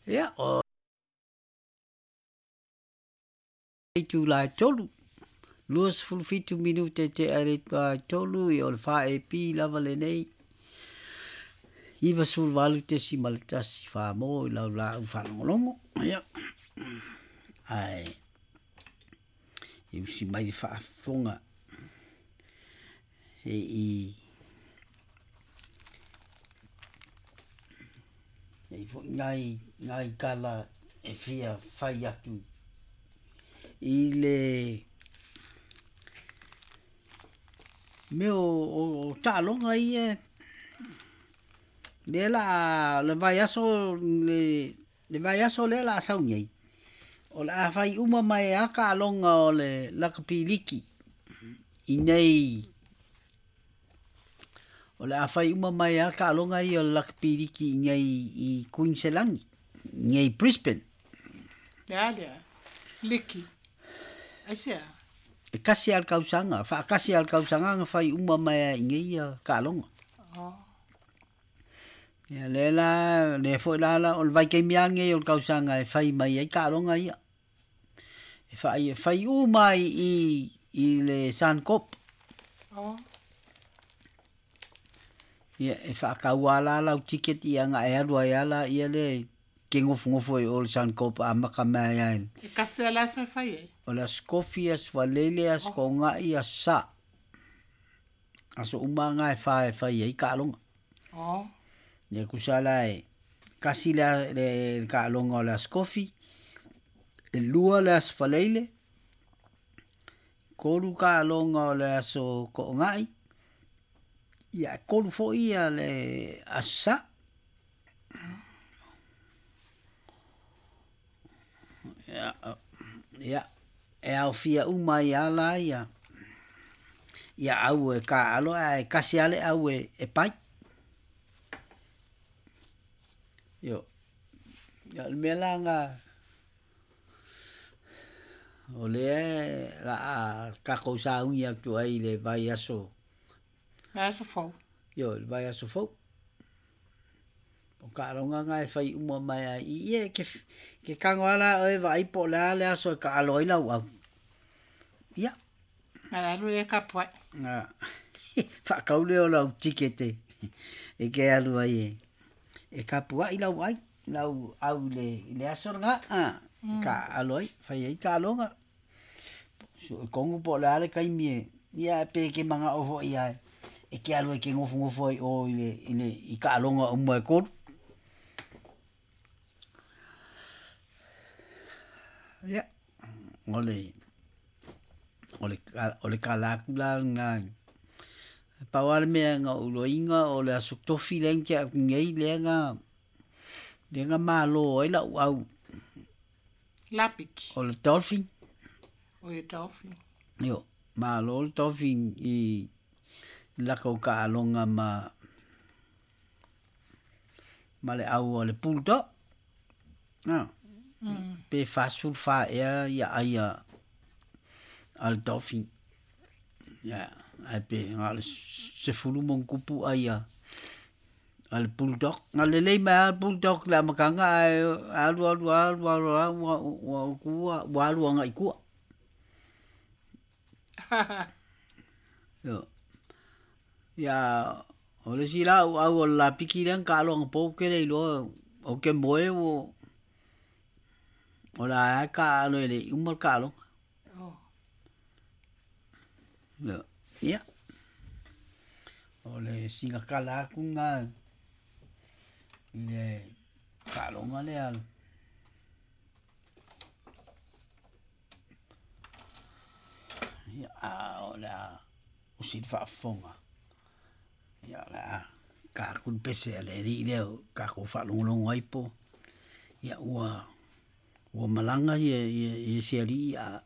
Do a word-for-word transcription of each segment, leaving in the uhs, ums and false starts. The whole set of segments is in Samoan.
Ia, o itulā e tolu, lua sefulu fitu minute tea i le itulā e tolu, ia o le fa E P lava lenei, iva sefulu valu tesima le tasi fā mo i lau laau faalogologo. Ia, ae e usi mai le faafofoga seʻi nei foʻi nai nai tala e fia fai atu i le mea o, o, o taaloga ia lea la le vaiaso le le vaiaso lea la sau nei o le a fai uma mai a taaloga o le lakapi liki i nei o le a fai uma mai a taaloga ia o le lakapi liki i nei i Kuiniselani nei Brisbane. Le a lea? Liki. Aisea? E kasi a le tausaga, faatasi a le tausaga na fai uma mai ai i nei ia taaloga. Oh. Ia lea la, lea foi la la o le vaitaimi lava lenei o le tausaga e fai mai ai taaloga ia. E fai, fai uma ai i, i le Suncorp. Oh. Ia e faataua la lau ticket ia na e alu ai ala ia le ke gofogofo ai o le Suncorp amata mai ai. E kasi a le aso e fai ai? O le Aso Kofi, Aso Faleile, Aso Oh. Kogaʻi, Aso Sā. Aso uma ga e fā e fai ai taaloga. Oh. Ia tusa la e kasi le, le, le taaloga o le Aso Kofi, e lua le Aso Faleile, tolu taaloga o le Aso Koʻogaʻi, ia e tolu foʻi ia le Aso Sā. Ia, ia, e aofia uma ai lava la ia ia au e kāʻalo ae kasi lava le au e, e pai. Io, ia o le mea la ga o lea la a takou saugi atu ai i le vaiaso. Vaiaso fou. Io, le vaiaso fou. O taaloga ga e fai uma mai ai i ia e ke, ke tago lava la oe vaai po o le a le aso e taalo ai lau au. Ia. Ae alu e kapuaʻi. A faatau lea o lau tikete e ke alu ai e e kapuaʻi lau ai lau au i le i le aso lena a Mm. taaʻalo ai fai ai taaloga. Suʻe tonu po o le a le taimi e ia pe ke manaʻo foʻi ae e ke alu ai ke gofogofo ai o i le i le i taaloga uma e tolu. Ia, o le o le o le tala atu la lena. Pau lava le mea na ou iloaina o le aso tofi lea na tea atu nei lea na lea na malo ai lau au. Lapiki. O le Dolphin. O le Dolphin. Io, malo le Dolphin i lakou taaloga ma ma le au o le Bulldog. Ah. Mm. Pe fasefulu fa ea ia ai a a le Dolphin. Ia, ae pe na o le sefulu ma ona tupu ai a a le Bulldog. Na lelei mai lava le Bulldog i le amataga ae alu alu alu alu lava ua ua ua ua alu agaʻi tua. Io. Ia o le isi la au o le lapiki lea na taalo anapo ou te le iloa ou te moe ua o le a e taaʻalo e leʻi uma le taaloga. Oh. Io, ia. O le sina tala atu lena i le taaloga lea. Ia, a o le a usi le faafofoga. Ia o le a tatou le pese a le alii lea o tatou faalogologo ai po. Ia ua ua malaga ia ia ia se alii a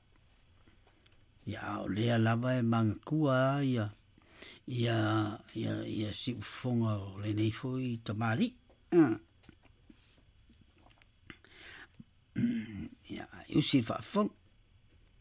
ia a o lea lava e manatua ia ia ia ia siufofoga o lenei foi tamalii. Ia usi le faafofoga.